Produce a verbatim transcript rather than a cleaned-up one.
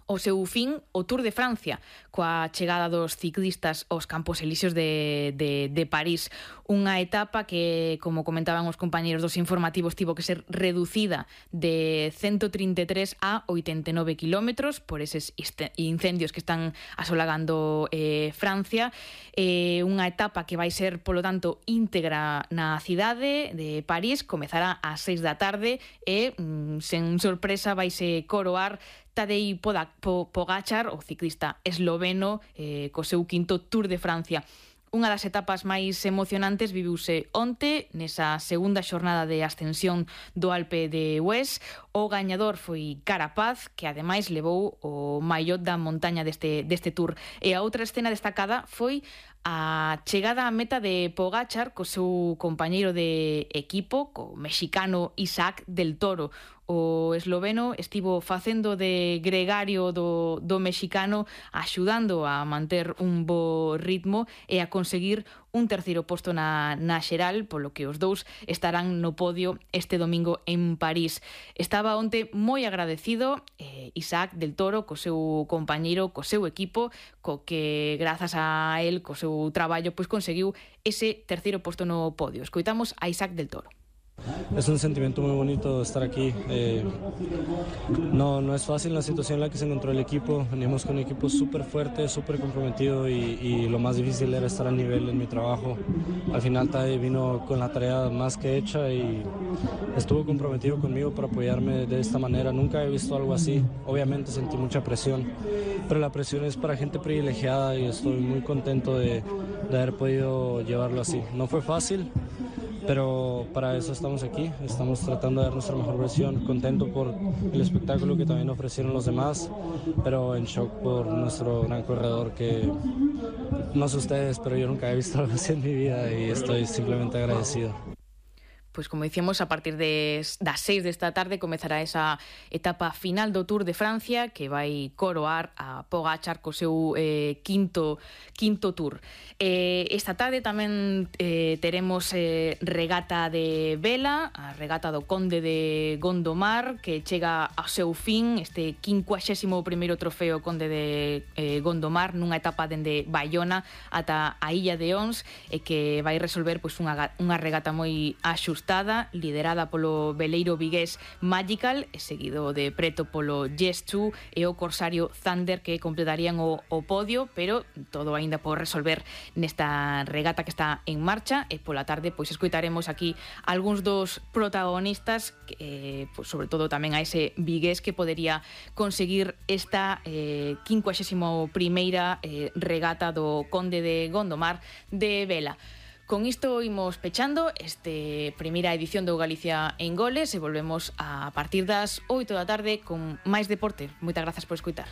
o seu fin o Tour de Francia, coa chegada dos ciclistas aos Campos Elíseos de, de, de París. Unha etapa que, como comentaban os compañeros dos informativos, tivo que ser reducida de ciento trinta e tres a oitenta e nove kilómetros por eses incendios que están asolagando eh, Francia. Eh, unha etapa que vai ser, polo tanto, íntegra na cidade de París, comezará ás seis da tarde e, mm, sen sorpresa, vaise coroar Tadej Pogačar, o ciclista esloveno, eh, co seu quinto Tour de Francia. Unha das etapas máis emocionantes viviuse onte, nesa segunda xornada de ascensión do Alpe de Hues. O gañador foi Carapaz, que ademais levou o maiot da montaña deste, deste Tour. E a outra escena destacada foi a chegada á meta de Pogačar co seu compañeiro de equipo, co mexicano Isaac del Toro. O esloveno estivo facendo de gregario do, do mexicano, axudando a manter un bo ritmo e a conseguir un terceiro posto na, na xeral, polo que os dous estarán no podio este domingo en París. Estaba onte moi agradecido eh, Isaac del Toro co seu compañeiro, co seu equipo, co que grazas a él, co seu traballo, pois conseguiu ese terceiro posto no podio. Escoitamos a Isaac del Toro. Es un sentimiento muy bonito estar aquí. Eh, no, no es fácil la situación en la que se encontró el equipo. Venimos con un equipo súper fuerte, súper comprometido y, y lo más difícil era estar al nivel en mi trabajo. Al final Tadej vino con la tarea más que hecha y estuvo comprometido conmigo para apoyarme de esta manera. Nunca he visto algo así. Obviamente sentí mucha presión, pero la presión es para gente privilegiada y estoy muy contento de, de haber podido llevarlo así. No fue fácil, pero para eso estamos aquí, estamos tratando de dar nuestra mejor versión, contento por el espectáculo que también ofrecieron los demás, pero en shock por nuestro gran corredor que, no sé ustedes, pero yo nunca he visto algo así en mi vida y estoy simplemente agradecido. Pois como dicíamos, a partir de, das seis desta tarde comezará esa etapa final do Tour de Francia que vai coroar a Pogačar co seu eh, quinto, quinto Tour. Eh, esta tarde tamén eh, teremos eh, regata de vela, a regata do Conde de Gondomar, que chega ao seu fin, este quincuaxésimo primeiro trofeo Conde de eh, Gondomar, nunha etapa dende Bayona ata a Illa de Ons, e que vai resolver pois, unha, unha regata moi axustada, liderada polo veleiro vigués Magical e seguido de preto polo Yes-two e o corsario Thunder, que completarían o, o podio, pero todo aínda por resolver nesta regata que está en marcha. E pola tarde pois escoitaremos aquí algúns dos protagonistas, que, pois, sobre todo tamén a ese vigués que podería conseguir esta eh, quincuaxésimo primeira eh, regata do Conde de Gondomar de vela. Con isto imos pechando este primeira edición do Galicia en Goles e volvemos a partir das oito da tarde con máis deporte. Moitas grazas por escoitar.